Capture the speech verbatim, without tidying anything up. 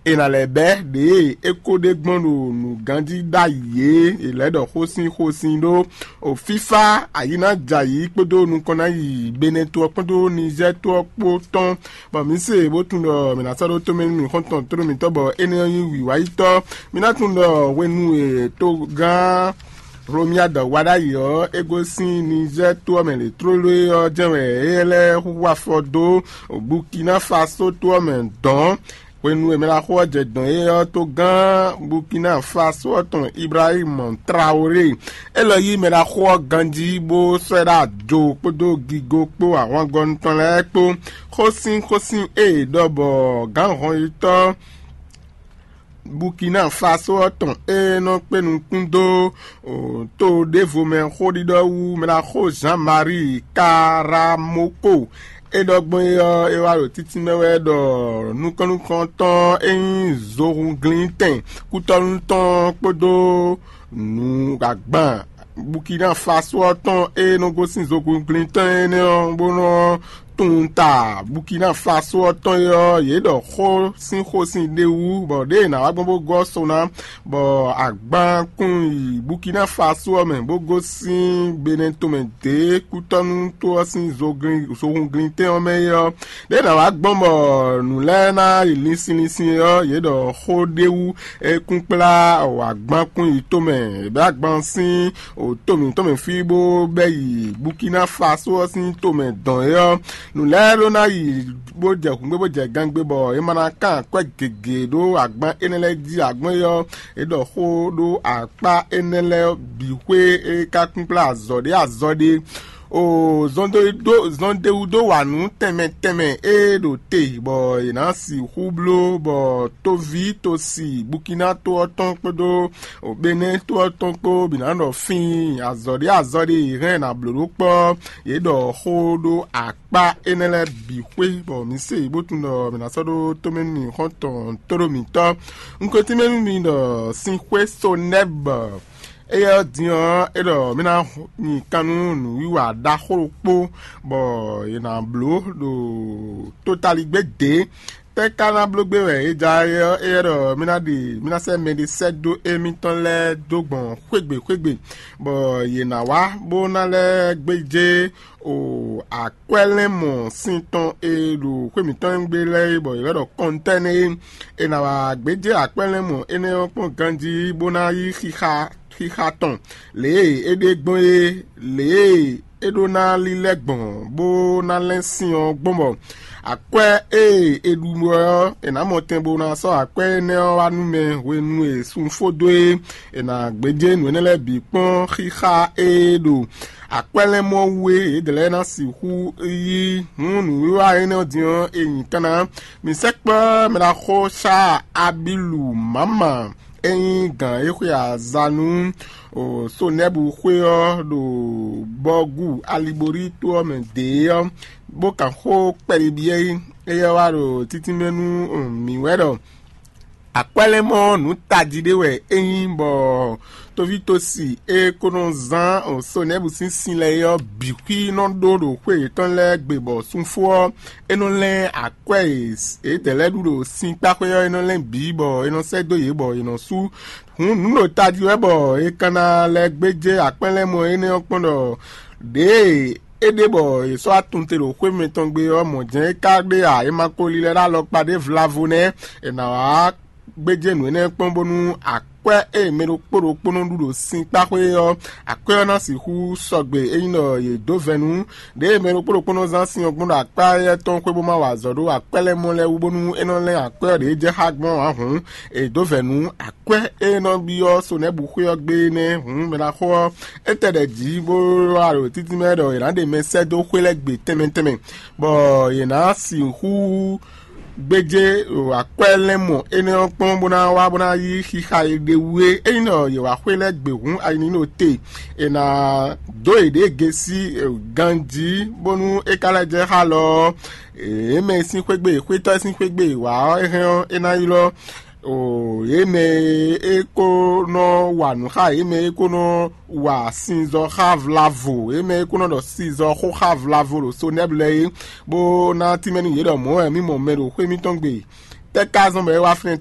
È nǎ lɛ́ bɛ́ ɖěe é ko ɖe gbɔn ɖo nǔganjí ɖ'ayǐ é, è lɛ̌ ɖɔ xósin xósin ɖó o fífá ayǐnájayǐ kpódó nukɔn ná yi Benɛto ɔ́ kpódó Nizɛ́ɛ to ɔ́ kpó tɔn, bɔ mǐ se bó tunwun ɖɔ mǐ ná sɔ́ ɖó tomɛ nú mǐ xɔ́ntɔn tlóló mǐtɔn bɔ énɛ́ ɔ́ nyí wǐwáyítɔ́. Mǐ ná tunwun ɖɔ hwenu e togán Hlomia dɔ wa ɖ'ayǐ ɔ́, é gosín Nizɛ́ɛ to ɔ́ mɛ lě tlóló é ɔ́ jɛ́n wɛ é lɛ́ hu afɔ dó Bukina Faso to ɔ́ mɛ dɔ̌n. Hwenu e mɛɖaxó ɔ́ jɛ dɔ̌n é ɔ́, togán Bukina Faso ɔ́ tɔn Ibrahim Traoré, élɔ́ yí mɛɖaxó ɔ́ ganjí bó sɔ́ ɛ ɖó ajo kpódó gigo kpó ahwangɔ́nu tɔn lɛ́ɛ kpó. Xósin xósin e è ɖɔ bɔ gǎn hɔnyitɔ́ Bukina Faso ɔ́ tɔn e nɔ kpé nukún dó to ɖěvo mɛ xóɖiɖɔ wú mɛɖaxó Jean-Marie Karamoko. É ɖɔ gbɔn é ɔ́, é wá ɖo títí mɛ wɛ ɖɔ nukɔn nukɔntɔn e nyí zohunglintɛn kútɔ́nú tɔn kpódó nǔ agban Bukina Faso ɔ́ tɔn e nɔ gosín zohunglintɔn énɛ́ ɔ́, bó nɔ tunwun ta Bukina Faso ɔ́ tɔn é ɔ́, yě ɖɔ xó sín xósin ɖé wú, bɔ ɖěe è nǎ wá gbɔn bó gɔ́ so ná, bɔ agban kún yi Bukina Faso ɔ́ mɛ, bó gosín Benɛto mɛ dě kútɔ́nú to ɔ́ sín zohunglintɛn ɔ́ mɛ é ɔ́, ɖěe è nǎ wá gbɔn bɔ nǔ lɛ́ɛ ná yi linsin linsin é ɔ́, yě ɖɔ xó ɖé wú é kún kplá agban kún yi tomɛ, è bɛ́ agban sín to mǐtɔn mɛ fí bó bɛ́ yi Bukina Faso ɔ́ sín tomɛ dɔn é ɔ́. Nǔ lɛ́ɛ ɖó ná yi bó jɛ hǔngbé bó jɛ gangbe bɔ è ma ná kán akwɛ́ gěgé ɖó agban énɛ́ lɛ́ɛ jí. Agbɔ́n é ɔ́, é ɖɔ xó ɖó akpá énɛ́ lɛ́ɛ bǐ xwé é ka kún kplá azɔ̌ ɖé azɔ̌ ɖé. O zɔn ɖé wú dó wa nǔ tɛnmɛ tɛnmɛ e ɖo te bɔ è nǎ sixú bló bɔ tóví tosi Bukina to ɔ́ tɔn kpódó Benɛ́ to ɔ́ tɔn kpó bǐ ná ɖɔ fíin azɔ̌ ɖé azɔ̌ ɖé è hɛn è nǎ bló ɖó kpɔ́. Yě ɖɔ xó ɖó akpá énɛ́ lɛ́ɛ bǐ xwé bɔ mǐ se bó tunwun ɖɔ mǐ ná sɔ́ ɖó tomɛ nú mǐ xɔ́ntɔn tóɖó mǐtɔn. Un ko tínmɛ nú mi ɖɔ sin xwé Sonɛ́bɔ éyɛ́ ɔ́ din ɔ́, é ɖɔ mǐ ná nyi kan nú nǔwiwa ɖaxó ɖokpó bɔ è nǎ bló ɖo tótaligbé dě. Tɛ́ ka ná bló gbé wɛ é ja é ɔ́? Éyɛ́ ɖɔ mí ná ɖe mí ná sɛ́ mɛɖé sɛ́ dó émítɔn lɛ́ɛ dó gbɔn xwégbe xwégbe, bɔ yě ná wá bó ná lɛ́ gbéjé o akwɛ́lɛ́nmɔ sin tɔn e ɖo xwé mǐtɔn gbe lɛ́ɛ é, bɔ yě lɛ́ ɖɔ kɔntɛ́nɛ é. È nǎ wá gbéjé akwɛ́lɛ́nmɔ énɛ́ ɔ́ kpɔ́n ganjí bó ná yí xixa xixa tɔn, lě e é ɖe gbɔn é, lě e é ɖó ná lílɛ́ gbɔn bó ná lɛ́n sin ɔ́ gbɔn bɔ akwɛ́ e è ɖu ɔ́, è nǎ mɔ tɛn bó ná sɔ́ akwɛ́ énɛ́ ɔ́ wá nú mɛ hwenu e sun fó dó é. È nǎ gbéjé nǔ énɛ́ lɛ́ɛ bǐ kpɔ́n xixa e ɖo akwɛ́lɛ́nmɔ wú é, yědɛɛ lɛ́ɛ ná sixú yí. Hǔn nǔwiwa énɛ́ ɔ́ din ɔ́, è nyi kan ná. Mǐ sɛkpɔ́ mɛ ɖaxó Sá Abilu Mama e nyí gǎn e xwe aza nú Sonɛ́bu xwé ɔ́ ɖo Bɔgu Aliborí to ɔ́ mɛ dě ɔ́, bó kan xó kpɛɖé byɔ́ é. Éyɛ́ wá ɖo títínmɛ nú mǐ wɛ ɖɔ akwɛ́lɛ́mɔ nǔ tají ɖé wɛ é nyí, bɔ tovítɔ́si e ko nɔ zán Sonɛ́bu sín sin lɛ́ɛ é ɔ́ bǐ xwí nɔ ɖó ɖo xwé yětɔn lɛ́ɛ gbe, bɔ sunfó ɔ́, é nɔ lɛ́n akwɛ́ e yědɛɛ lɛ́ɛ ɖu ɖo sinkpáxwé ɔ́, é nɔ lɛ́n bǐ, bɔ é nɔ sɛ́ dó yě, bɔ yě nɔ sú. Hǔn nǔ ɖo tají wɛ bɔ è ka ná lɛ́ gbéjé akwɛ́lɛ́mɔ énɛ́ ɔ́ kpɔ́n ɖɔ ɖěe é ɖe bɔ è sɔ́ atun te ɖo xwé mǐtɔn gbe ɔ́, mɔ̌ jɛ́n é ka ɖe ǎ; è ma ko lílɛ́ ɖó alɔkpa ɖé vlavo nɛ́. È nǎ wá gbéjé nǔ énɛ́ kpɔ́n bónú akwɛ́ e mɛ ɖokpó ɖokpó nɔ ɖu ɖo sinkpáxwé ɔ́, akwɛ́ ɔ́ ná sixú sɔgbe ényí ɖɔ yě dó vɛ̌ nú. Ɖěe mɛ ɖokpó ɖokpó nɔ zán sin ɔ́ gbɔn ɖo akpá éyɛ́ tɔn xwé bó má wa azɔ̌ ɖó akwɛ́ lɛ́ɛ mɔ lɛ́ɛ wú bónú é nɔ lɛ́n akwɛ́ ɔ́ ɖě jɛ xá gbɔn ǎ hǔn, è dǒ vɛ̌ nú akwɛ́ e nɔ byɔ́ Sonɛ́bu xwé ɔ́ gbé nɛ́. Hǔn mɛ ná xo ɔ́, é tɛ ɖɛ jǐ bó wá ɖo títí mɛ ɖɔ è nǎ ɖe mɛ sɛ́ dó xwé lɛ́ɛ gbe tɛnmɛ tɛnmɛ, bɔ yě ná sixú gbéjé akwɛ́ lɛ́ɛ mɔ énɛ́ ɔ́ kpɔ́n bó ná wá bó ná yí xixa e ɖe wú é. Ényí ɖɔ yě wá xwé lɛ́ɛ gbe hǔn, ayi ní ɖo te, è nǎ dó yěɖée gesi ganjí bónú é ka lɛ́ jɛ xá lɔ ɔ́, yě mɛ e sín xwé gbe, xwétɔ́ e sín xwé gbe è wǎ ɔ́, é hɛn ɔ́, é ná ylɔ́. O yě mɛ e ko nɔ wa nǔ xá yě mɛ e ko nɔ wa sinzɔ́ xá vlavo, yě mɛ e ko nɔ ɖɔ sinzɔ́ xó xá vlavo ɖo Sonɛ́blu lɛ́ɛ é, bó ná tínmɛ nú yě ɖɔ mɔ̌ wɛ mǐ mɔ mɛ ɖo xwé mǐtɔn gbe. Tɛ́ ka zɔ́n bɔ é wá fínɛ́ ta?